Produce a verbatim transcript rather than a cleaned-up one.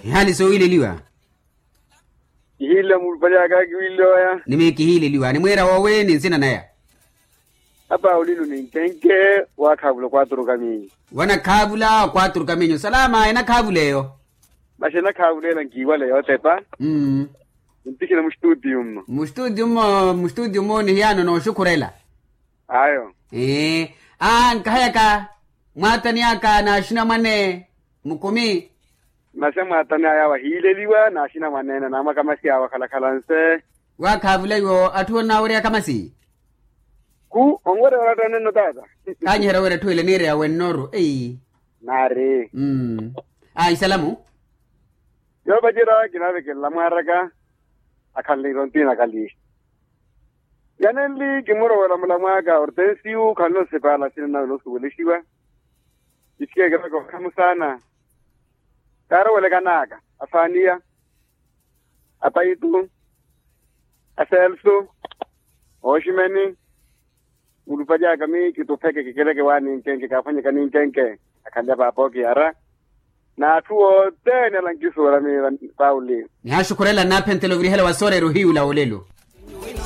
Ehali soowiileliwa. Kihiile muulupale aka kiwiileya. Nimi kihiileliwa nimwiira woowi ni nsina naya. Apa olino ni nkenke. Waakhaavula okwaaturuka miinyu. Wanakhaavula okwaaturuka miinyu salama enakhaavula eyo. Masi enakhaavula ela nkiiwale yootepa. Ntikhina mustutiyu mmo. Mustutiyu mmo mustutiyu mmo ni hiyaano nooxukhurela. Ayo. Ee. Aa nkahayaka mwaatani aka naaxinamwane mukumi. Masi amwaatani aya awo ahiileliwa naaxinamwaneene naamwakamasi awo akhalakhala nse. Waakhaavula iwo atthu onnawerya kamasi. Khu onwerya wala attanenno taata. Kaanyiherya wira etthu ile niireya wennoru ei. Naari. Ayi salamu. Yoopacerya kinaavekelela mwaaraka. Akhanle irontiina kali. Yanenli kimurowela mulamwaaka ortensiyu khanle osipaala sina nawe noosuwelexiwa. Kithike kiveka okhamu saana. Kaarowelekanaaka afaaniya, apaitu, aselsu, ooximeni. Mulupalyaka mi kitupheke kikeleke waaninkenke kaaphwanyeka ninkenke. Akhanle paapa okiyara. N'atthu othene ala nkisuwela mi pauli. Nihaaxukhurela nnaaphentela ovirihela wa sooreera ohiyu la olelo.